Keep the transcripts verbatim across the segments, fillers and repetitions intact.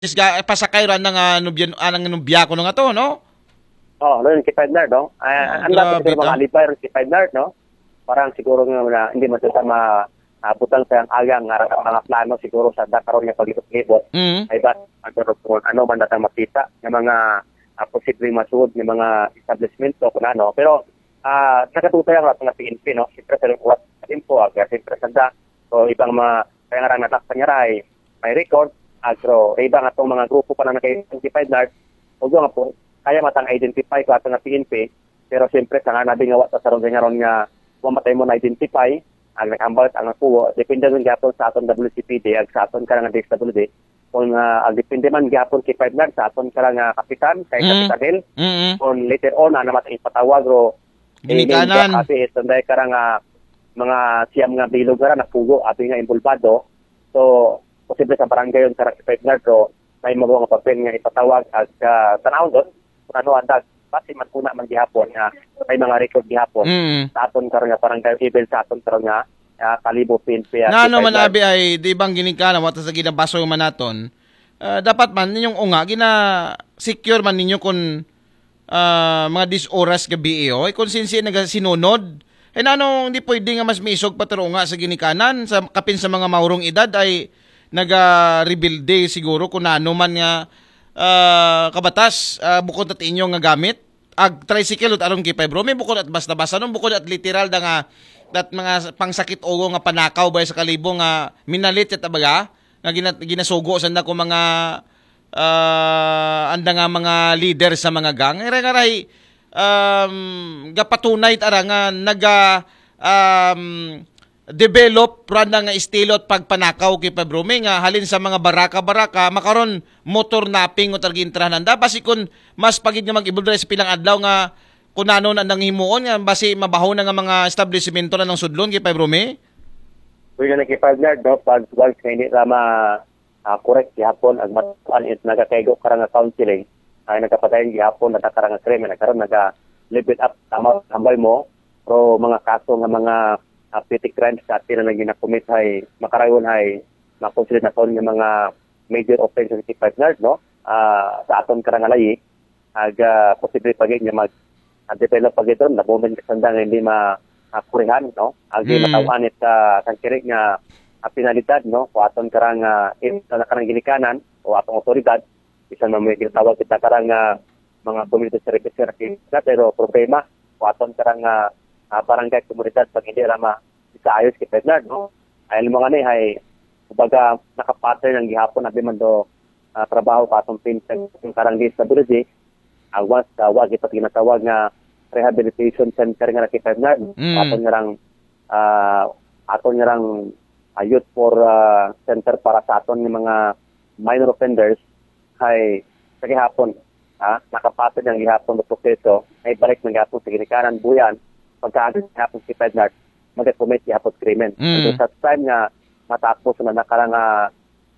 Is ga, pasakay ran nga nubyan, anang nubya ko nga to, no? Oh, no, yung K five Nard, no? Ah, Ah, ang lahat grabe siguro mga ta. alibay ron K five Nard, no? Parang siguro nga na, hindi man sila ma abutang sa ang agang nga mga plano siguro sa dakaron nga paglibot-libot. Mm. Ay ba, ano, kung ano man datang makita ng mga ah, posibleng masud ng mga establishment o kung ano. Pero ah, nakatutay ang mga P N P, no? Siyempre sa lingkuwat sa tempo, ah, kaya siyempre sa da, so ibang mga kaya nga lang natakpan niya ray, may record, agro, iba nga itong mga grupo pa na naka-identify na, o nga po, kaya matang identify ko ato nga P N P, pero siyempre sa nga nabi nga wata sa ron nga ron nga, wa matay mo na-identify, ang nakambal ang kuwo, depende rin gapon sa aton W C P D, ag sa aton ka nga D S W D, kung ah, ang depende man gapon kay five nine sa aton ka nga kapitan, kay Mm. Kapitan Hill, Mm. kung later on, na naman ipatawag, ro, Ginikanan. Kasi itong dahil karang ah, mga siyam nga bilog nga napugo, abi nga involvado. So, posible sa barangay yung karang five nard, ro, may mga nga papel nga ipatawag at uh, tanawon doon, kung ano ang dag, pati man kuna man gihapon nga may mga record gihapon Mm. sa aton karon nga barangay, even sa aton karon nga ah, Kalibo P N P at Na ano man K five nard. Abi ay di bang ginikanan, wata sa ginabaso man naton. Ah, dapat man ninyong unga, gina secure man ninyo kung ah, mga dis oras gabi, eh, oh. Ay, kung sinsi nagasinunod. Ay, na ano, hindi pwede nga mas miisog pa taro nga sa ginikanan, sa kapin sa mga maurong edad ay naga-rebuild siguro kung ano man nga ah, kabatas, ah, bukod at inyo nga gamit. Ag tricycle ut aron kay five, bro. May bukod at basta-basta, no? Bukod at literal da nga, dat mga pangsakit ulo nga panakaw ba sa Kalibo nga minalit at abaga nga gina, ginasugo sanda ko mga ah, anda nga mga leader sa mga gang. Ira nga ray, um, gapatunay tara nga naga um, develop randa nga estilo at pagpanakaw kay five, bro. May nga halin sa mga baraka-baraka, makaron motor napping o targintrahan nanda. Basi kun mas pagid nga mag-evolve sa pilang adlaw nga kung ano na nang himuon nga basi mabaho na nga mga establishmento na nang sudlon kay five, bro, may? Uy, nga nagkipag-nerd, no? Pag once nga hindi na ma ah, correct gihapon ang matuan is nagakaigo karang nga counseling ay nagkapadayon gihapon na karang nga krimen, nagkaroon naga level up tama tambay mo, pero mga kaso nga mga ah, petty crimes sa atin na ginakumit ay makarayon ay makonsider na kon nga mga major offenses sa five nard, no? Ah, sa aton karang nga layi, ag ah, posible pa gid nga mag ah, develop pa gid ron, nabumin ka sanda nga hindi ma ah, kurihan, no? Ag Hmm. Mataw-an it ah, kang kini nga ah, penalidad, no? Kung aton karang ah, in sa karang ginikanan o atong otoridad, bisan man may ginatawag kita karang ah, mga community service worker, pero problema kung aton karang ah, ah, barangay komunidad pag hindi ra ma kaayos kay five nard, no? Ay mga ni ay kumbaga nakapattern ang gihapon abi man do ah, trabaho ka atong fintech yung karang disability, awas sa wa kita ginatawag nga rehabilitation center nga kay five nard. Mm. Aton nga rang ah, aton nga rang ah, youth for ah, center para sa aton nga mga minor offenders ay sa gihapon, ha, nakapatid ang gihapon ng proseso ay balik ng gihapon sa ginikanan buyan pagkaagad gihapon si five nard mag-commit gihapon krimen. Mm. And sa time nga matapos na nakarang ah,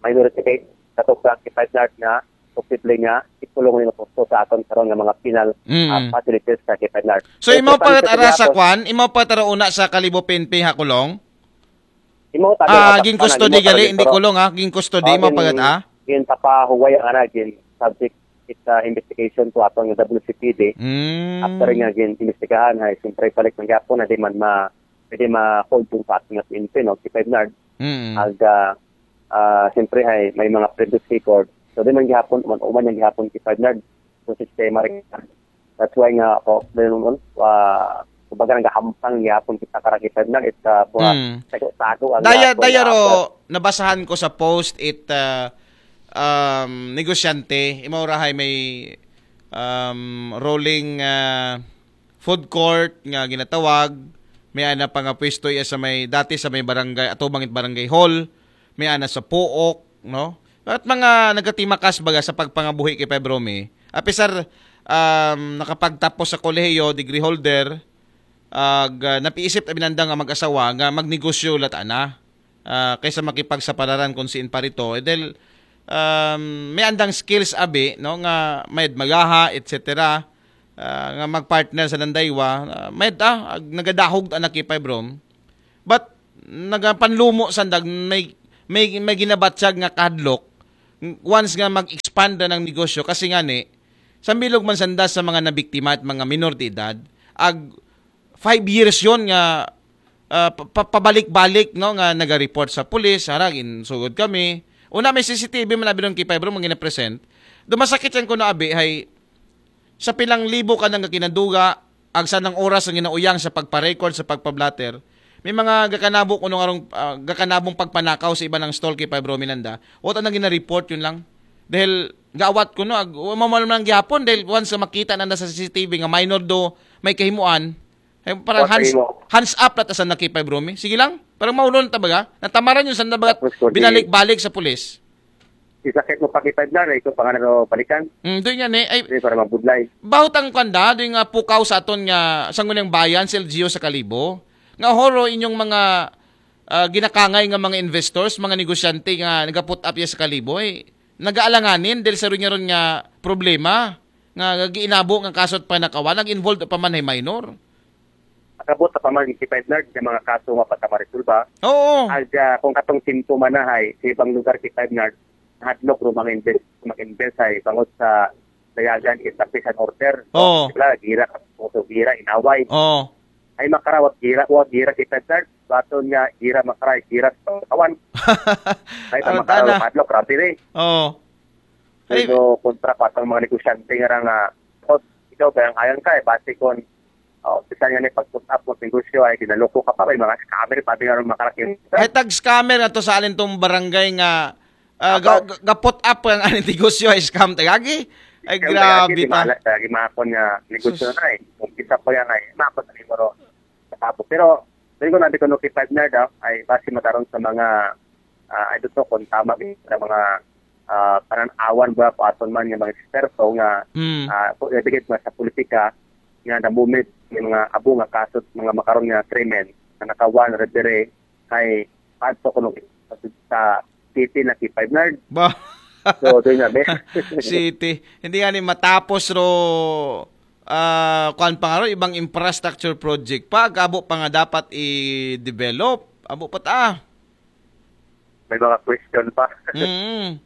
minority case, katukang kay five nard nga posible nga ikulong nila po sa aton karon nga mga penal Mm. ah, facilities sa kay five nard. So, imaw pa rat ara sa gihapon, kwan, imaw pa tara una sa Kalibo P N P ha, Kulong? Imaw tayo Ah, matakpan ging ang custody imaw tayo gali, dito, hindi ro. Kulong ha, ging custody, Ah, imaw pa gin- gat ah? Gin papahuway ang ana, gin subject it ah, investigation to atong W C P D. Mm. After nga gin investigahan ay siyempre balik ng gapon na di man ma pwede ma-hold yung sa ating P N P, no? Si five nard. Mm. Ag ah, ah, siyempre ay may mga previous record. So di man gihapon, man uman yung gihapon si five nard. So sistema rin. That's why nga ako, dahil nun, ah, kumbaga nagahampang gihapon kita karang si five nard, it's uh, buha, Mm. tago-tago ang Daya, gihapon daya nga ro, after. Nabasahan ko sa post it ah, um, negosyante, imaw ra hay may um, rolling ah, food court nga ginatawag, may ana pa nga pwesto iya sa may, dati sa may barangay, atubang it barangay hall, may ana sa Pook, no? At mga nagkatimakas baga sa pagpangabuhi kay five, bro, may. Apisar um, nakapagtapos sa kolehiyo, degree holder, ag ah, napiisip ta binanda nga mag-asawa nga magnegosyo lat ana. Ah, kaysa makipagsapalaran kung siin pa rito. Eh, dahil um, may andang skills abi, no, nga may magaha, et cetera. Ah, nga mag-partner sa Landaywa, ah, may ah, ag- nagadahog ta na kay five, bro. But nagapanlumo sandag may may may ginabatyag nga kahadlok once nga mag-expand na ng negosyo, kasi nga ni, sa bilog man sanda sa mga nabiktima at mga minor de edad, ag five years yon nga, ah, pa- pa- pabalik-balik, no, nga naga-report sa pulis, harag, insugod kami. Una, may C C T V man abi ron kay Febro, mga gina-present. Dumasakit yan ko na abi, hay, sa pilang libo ka nang kinaduga, ag sa nang oras ang ginauyang sa pagpa-record, sa pagpa-blotter, may mga gakanabo kuno nga rong, ah, gakanabong pagpanakaw sa iba ng stall kay Febro Miranda. Wa ta nang gina-report, yun lang. Dahil gaawat kuno, ag, wa man lang gihapon, dahil once nga makita na na sa C C T V nga minor do may kahimuan, ay, parang Wa hands, kayo. Hands up na ta sa nakipay, Bromi. Sige lang. Parang maulon ta baga. Natamaran yung sanda baga Tapos, kung di- binalik-balik sa pulis. Isakit mo pa kita na, ito pa nga na balikan. Mm, doon yan eh. Ay, Hindi para mabudlay. Bahut ang kanda, doon nga pukaw sa aton nga sangunang bayan, si L G U sa Kalibo. Nga horo inyong mga ah, ginakangay nga mga investors, mga negosyante nga nagaput up ya sa Kalibo, eh, nagaalanganin dahil sa ron nga problema nga giinabo nga kaso at panakawan, nag-involved pa man ay minor. Nakabot pa man si Fednard sa mga kaso nga pagkamaresolba. Oo. Ag, ah, kung katong simptoman na hay, sa ibang lugar si Fednard, hadlok ro mga invest, mag-invest ay bangod sa dayagan is a peace and order. Oo. Sila, gira, kaso gira, inaway. Oo. Ay makarawat gira, wa gira si Fednard, baton nga gira makaray, gira sa kawan. Ay Aron makaraw tana. Hadlok, grabe ni. Oo. Ay, Pero kontra pa ang mga negosyante nga ra nga, "Oh, ikaw ba ang ayang ka, eh, base kon, oh, bisan nga ni pag-put up mo sa negosyo ay ginaloko ka pa, may mga scammer pa, di nga rin makaraking." Ay, tag scammer na to sa alin tong barangay nga, ah, ga, Tapos? ga, ga-put up ang aning negosyo ay scam, tagagi? Ay, Scam, grabe tagagi, di ta. Mahala, tagagi, mga kon nga negosyo Sus. Na eh. Kung isa pa yan ay, makot na siguro. Tapos, pero, pero kung nabi ko, no, kay partner daw, ay base mataron sa mga, ah, I don't know kung tama, sa mga, ah, pananawan ba, kung aton man nga mga eksperto nga, Hmm. ah, kung ibigay nga sa politika, nga namumit yung mga abo nga kaso, mga makaron nga krimen, nga nakawan, rebere, kay pato ko nung sa city na si Five Nard. Ba? So, doon nga, be. City. Hindi nga ni matapos ro, ah, kuan pa nga ro, ibang infrastructure project pa, ag abo pa nga dapat i-develop. Abo pa ta. May mga question pa. Mm.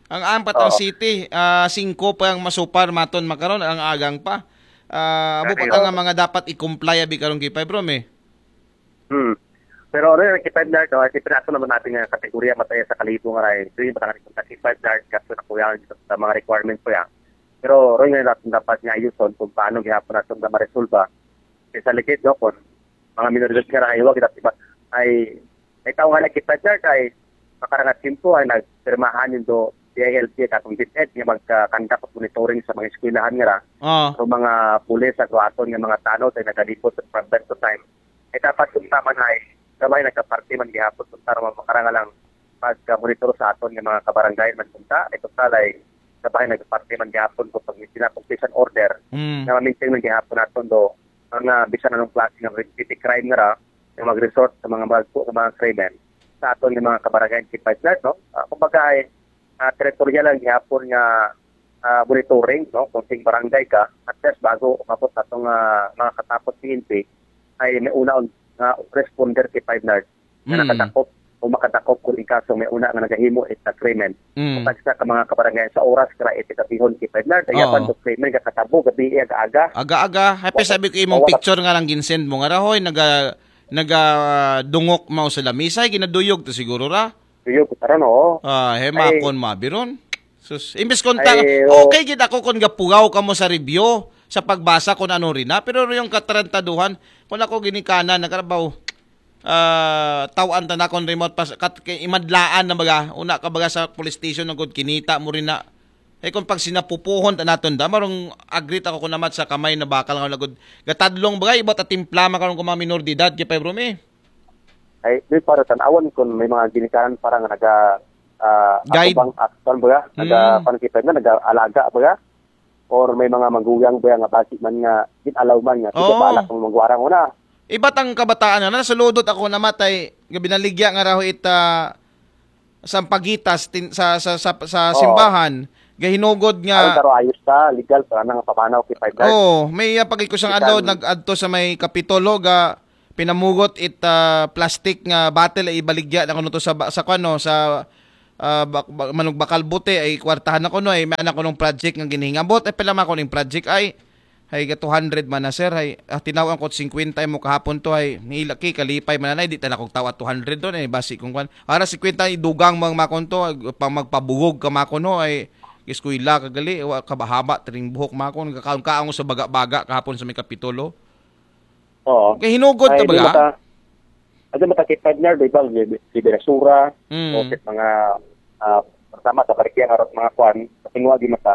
Ang ampat ang Oo. City, ah, singko pa ang masupar maton makaron, ang agang pa. Ah, abo pa Kani, ta nga oo. Mga dapat i-comply abi karon kay Five Rom eh. Hmm. Pero ano yung kay Five Nard, no? Siyempre, ato naman natin nga kategorya mataya sa Kalibo nga rin. Ito yung matangani kung kay Five Nard, kaso na kuya sa mga requirements ko yan. Pero rin nga natin dapat nga ayuson kung paano gihapon natin na maresolba. Kaya sa likid, no, kung mga minoridad nga rin, ay huwag dapat iba, ay, ay tao nga nakita dyan, kay makarangat simpo, ay nagpirmahan yung do, D I L P, katong DepEd, nga magka-conduct of monitoring sa mga eskwelahan nga ra. Ah. So, mga pulis, sa aton nga mga tanod, ay nagalipot sa from time to time. Ay dapat kung tama na ay, sabay nagkaparte man gihapon, kung tama makarangalang pagka-monitor sa aton nga mga kabarangay man punta, ay total ay sabay nagkaparte man gihapon kung pag-maintain na kung peace and order, Mm. Na ma-maintain man gihapon naton do, mga bisan anong klase ng petty crime nga ra, nga mag-resort sa mga bagpo, sa mga krimen, sa aton nga mga kabarangay, si partner, no? Ah, kumbaga ay, ah, territorial lang gihapon nga, ah, monitoring, no? Kung sing barangay ka, at least bago umabot sa atong, ah, mga katapos P N P, ay may una on nga responder si Five Nard na Mm. Nakadakop o makadakop kung ikaso may una nga nagahimo it agreement. Mm. Tagsa ka mga kabarangay sa oras kara iti kabihon si Five Nard, Oo. Dayapan do krimen kakatabo, gabi, aga-aga. Aga-aga. Happy Wala. Sabi ko imong Wala. Picture nga lang ginsend mo nga rahoy, naga, naga dungok mao sa lamisay, ginaduyog to siguro ra. Duyog, karon, oo. Ah, he, Ay. Makon, mabiron. Sus, imbes kung ta-, Ay, oo. Okay gid ako kung gapugaw ka mo sa review, sa pagbasa kung ano rin na, pero yung katarantaduhan, kung ako ginikanan, nagkarabaw, ah, tawaan ta na kung remote pas, kat, kay imadlaan na baga, una ka baga sa police station, ang good kinita mo rin na. Eh, kung pag sinapupuhon ta naton da, marong agree ako kung namat sa kamay na bakal nga lagod. Gatadlong baga, iba't atimpla, makaroon kung mga minor de edad, kay Pebro, eh. Ay, di para tan-awan kung may mga ginikanan para nga naga, ah, Guide. Atubang action baga, naga, Mm. Panakipay na, naga-alaga baga, or may mga magulang baga nga basi man nga, gin-allow man nga, sige, Oo. Balak mong magwarang una. Iba't ang kabataan nga, nasuludot ako na matay, nga binaligya nga raho ita, sampagitas, tin-, sa, sa, sa, sa Oo. Simbahan, gahinugod nga. Aron taro ayos ta, legal, para nga pamanaw, kay Five Nard. Oo, may, ah, pag-ikusang Legal. Adlaw, nag-adto sa may Kapitolo, ga, pinamugot it, ah, plastic nga bottle ay ibaligya na kuno to sa ba-, sa kuno, sa, ah, bak-, bak-, manug bakal buti, ay kwartahan ako no, ay may anak ko nung project nga ginhingabot, ay pila man ko ning project, ay, ay ga two hundred man na, sir, ay, ah, tinaw-an ko singkwenta mo kahapon to, ay, nilaki, kalipay man na, di tala kog tawa two hundred doon, ay, basi kung kwan. Ara singkwenta, idugang mga makon to, ay, pang magpabugog ka makon ho, ay, eskwela ka gali, wa ka bahaba, tring buhok makon, kakaon-kaon ko sa baga-baga kahapon sa may kapitulo. Oo. Kay hinugod ta Ay, di baga? mata, ay, di mata kay partner, di ba, di, di basura, Mm. o kit mga, ah, tama, sa parikya, harap mga kwan, sa tingwa, di mata.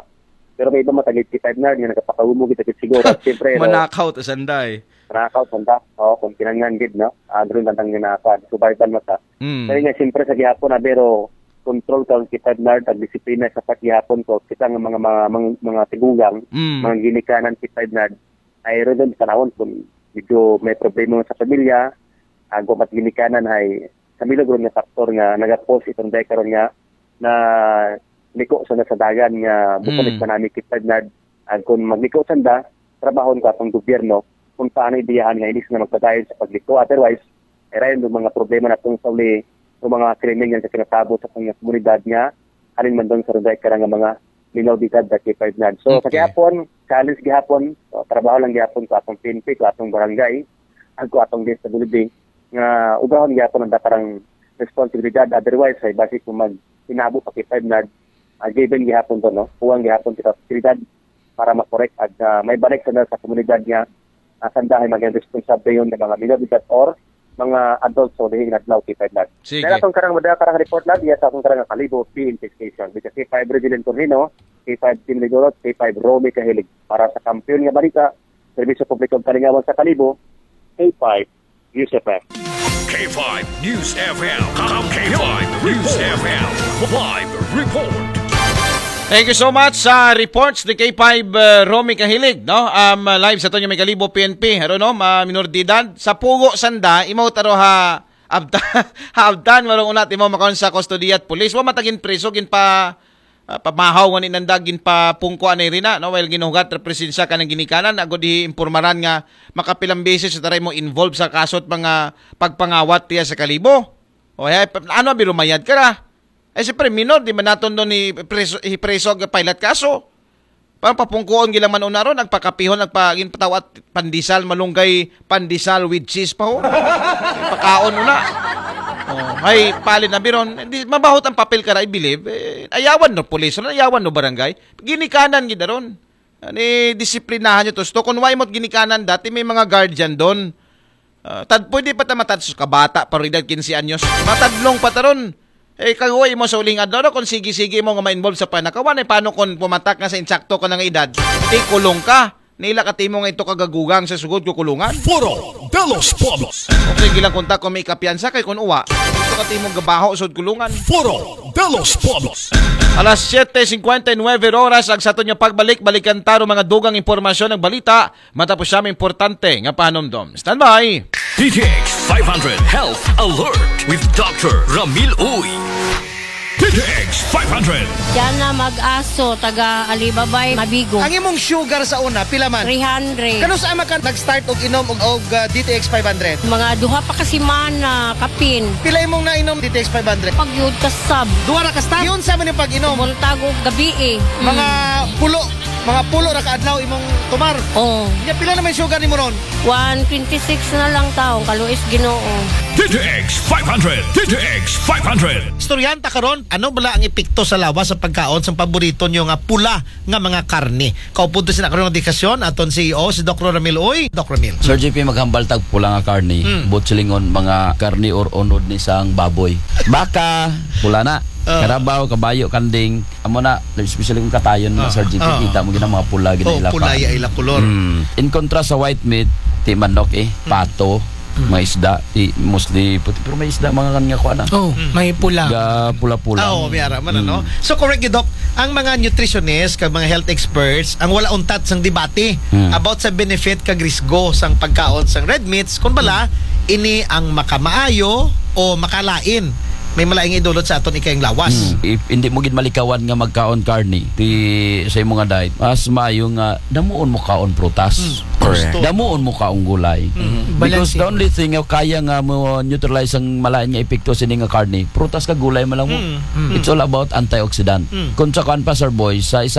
Pero may iba mata, kay partner, nga nagpakaumo, kita kit siguro. Siyempre, no, Manakaw ta sanday. manakaw, sanda. Oo, kung kinangan, gid, no? Ah, doon lang ang ginakwan. Survival mata. Mm. Kaya nga, siyempre, sa gihapon, na, pero control ka, kay partner, ang disiplina sa paghihapon ko, kita nga mga, mga, mga, mga tigugang, Mm. mga ginikanan, kay partner, ay ron din panahon kung medyo may problema sa pamilya, ang kumat ginikanan ay sa milagro nga faktor nga nagapos itong day karon nga na liko sa nasadagan nga bukulit Mm. manami kay partner, ang kung magliko sanda, trabahon ko atong gobyerno kung paano ibiyahan nga inis na magpadayon sa pagliko. Otherwise, ay rayon ng mga problema na itong sa uli, ng mga krimen nga kinatabo sa kanyang komunidad nga, aning man doon sa ronday karang nga mga minor de edad na kay partner. So, sa Okay. gihapon, challenge gihapon, so, trabaho lang gihapon sa atong P N P, sa atong barangay, ang ko atong D S W D, nga ubrahon gihapon ang dakarang responsibilidad. Otherwise, ay basi kung mag-inabo pa kay partner, ah, given gihapon to, no? Kuwang gihapon kita sa oportunidad para makorek at ah, may balik sa sa komunidad nga ah, sanda ay maging responsable yun ng mga minor de edad or mga adults o dihing adlaw kay partner. Sige. Dahil atong karang mada karang report na diya sa atong karang Kalibo P N P Station. With the K five Resident Cornino, K five Team Ligorot, K five Romy Kahilig. Para sa kampiyon nga balita, serbisyo publiko ug kalingawan sa Kalibo, K five News F M. K five News F M. K five News F M. Live report. Thank you so much sa reports ni K five, uh, Romy Kahilig, no? Um, uh, live sa Tonyo May Kalibo, P N P. Ano, no? Ma-, minor de edad. Sa pugo sanda, imaw taro ha abtan, ha abtan, marong unat imaw makaon sa kustodiya at pulis. Wa matagin preso, gin pa, ah, pamahaw nga ni nanda, gin pa pungko anay rina, no? While ginuhugat represensya ka ng ginikanan, agod i-impormaran nga makapilang beses sa taray mo involved sa kaso at mga pagpangawat tiya sa Kalibo. O, eh, pa-, ano, birumayad ka ra? Eh, siyempre, minor, di man naton doon i-preso, i-preso ang pilot kaso. Parang papungkuon gilang man una ron, nagpakapihon, nagpa-, ginpatawa at pandesal, malunggay, pandesal with cheese pa ho. Pakaon una. Oh, ay, pali na biron. Di, mabahot ang papel ka ra, I believe. Eh, ayawan no pulis, ayawan no barangay. Ginikanan gid ron. Ani, disiplinahan nyo to. Sto, kung wa imo't ginikanan, dati may mga guardian doon. Ah, tad, pwede pa ta matad-, sus, kabata pa rin edad quince anyos. Matadlong pa ta ron. Eh, kaguway mo sa uling adlaw na kung sige-sige mo nga ma-involve sa panakawan, eh, paano kung pumatak nga sa insakto ka na nga edad? Di kulong ka. Nila ka timo nga ito kagagugang sa sugod ko kulungan. Foro de los Pueblos. Okay, gilang kontak kung may kapiyansa kay kung uwa. Ito ka timo gabaho sud kulungan. Foro de los Pueblos. Alas siyete cincuenta y nueve oras ang sa aton nga pagbalik. Balikan taro mga dugang impormasyon ng balita. Matapos siya may importante nga pahanumdom. Standby! D T X five hundred Health Alert with Doctor Ramil Uy. D T X five hundred. Diyan na mag-aso, taga Alibabay, Mabigo. Ang imong sugar sa una, pila man? Three hundred. Kanus-a man ka nag-start og inom og, og ah, D T X five hundred? Mga duha pa ka semana, kapin. Pila imong nainom D T X five hundred? Pagyud kasab. Duha ra ka stop. Yun sa man yung pag-inom. Buntag og gabi eh. Mga pulo, mga pulo ra ka adlaw imong tumar. Oh, Nya pila naman sugar nimo ron? one twenty-six na lang taong kaluis Ginoo. D T X five hundred. D T X five hundred. Istoryanta karon, ano bala ang epekto sa lawas sa pagkaon sa paborito nyo nga pula nga mga karne? Kaupunto sina karon nga diskusyon aton C E O, si Doc Ramil Uy. Doc Ramil. Sir J P, maghambal tag pula nga karne, Mm. butchilingon, mga karne or unod ni sang baboy. Baka, pula na. Ah. Karabaw, kabayo, kanding. Amo na, especially kung katayon na, Ah, Sir J P, ah. Kita mo gina mga pula, gina Oh, ila pula pa. iya ila kulor. Mm. In contrast sa white meat, ti manok eh, pato, mga isda, ti mostly puti, pero may isda, mga kanya ko na. Oh, may pula. Ga pula-pula. Ah, oo, may ara man, ano? Mm. So, correct gyud, Doc. Ang mga nutritionist, kag mga health experts, ang wala untat sang debate Mm. about sa benefit kag risgo sang pagkaon sang red meats, kung bala, ini ang makamaayo o makalain. May malaing idulot sa aton ikayang lawas. Mm. If hindi mo gid malikawan nga magkaon karne, ti sa imong nga diet, mas maayo nga damuon mo kaon prutas. Mm. Damuon mo kaon og gulay. Because the only thing nga kaya nga mo neutralize ang malain nga epekto sini nga karne, prutas kag gulay man lang mo. Mm. It's all about antioxidant. Mm. Kung sa kuan pa, Sir Boy, sa isa